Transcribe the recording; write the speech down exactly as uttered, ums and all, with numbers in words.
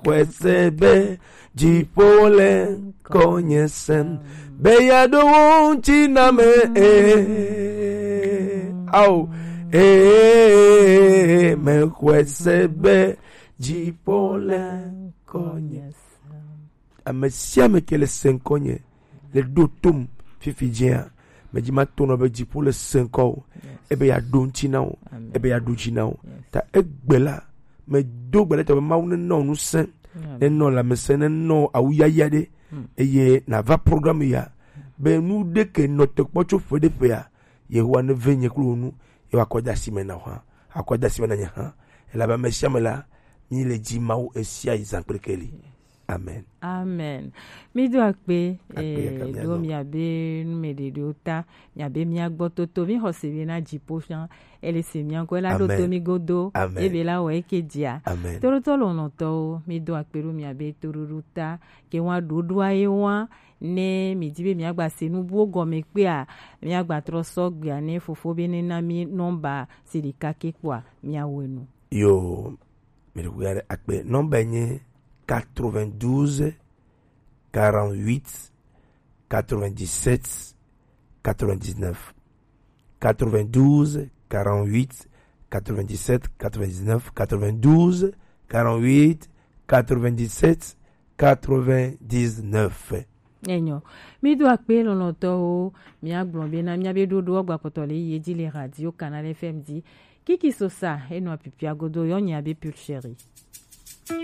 Mexɔe se be dziƒo le ŋkɔnye sem, be yeaɖo wo ŋuti na me, ee, ao, ee, mexɔe se be dziƒo le ŋkɔnye sem. Ame sia ame ke le se ŋkɔnye, le ɖo tom fifi dzia, medzi mato nɔ be dziƒo le se ŋkɔ o, ebe yeaɖo ŋuti na o, ebe yeaɖo dzi na o. Ta egbe la, medo gbe ɖe tɔ be Mawu nenɔ ŋusẽ, nenɔ lãmesẽ, nenɔ awuyaya ɖe, eye nava programme ya, be nu ɖeke nɔ te kpɔ tso ƒe ɖe ƒea, Yehowa neve nye kple wò nu, ye wòakɔ de asi me na wò hã, akɔ de asi me na nye hã, elabe ame sia ame la, mí le dzi Mawu ɣesiaɣi zã kple keli. Amen. Amen. Mído akpe, akpe eh, ɖo miabe numeɖeɖewo ta, miabe mía gbɔ toto, mí xɔ se be na dziƒo fia, ele se mía ŋkɔ, ela ɖo to mí godo, ebe la wɔ eke dzia. Amen. Toɖotɔ lɔlɔ̃tɔwo, mído akpe ɖo miabe toɖoɖo ta, ke wa ɖoɖoa ye wa, ne mi di be miagba se nu buwo gɔme kpea, miagba trɔ sɔ gbea ne fofo be ne na mi nɔmba si ɖeka ke kpɔa, miawɔe nu. Yo, mi ɖo ya ɖe akpe. Nɔmba nye quatre-vingt-douze, quarante-huit, quatre-vingt-dix-sept, quatre-vingt-dix-neuf. Quatre-vingt-douze, quarante-huit, quatre-vingt-dix-sept, quatre-vingt-dix-neuf, quatre-vingt-douze, quarante-huit, quatre-vingt-dix-sept, quatre-vingt-dix-neuf. Enyo. Mído akpe lɔlɔ̃tɔwo, míagblɔ bena míabe ɖoɖoa gbakpɔtɔ le ye dzi le Radio Canal F M dzi. Kiki Sosa, enɔ apipia godo, yɔ nya be Pulchérie.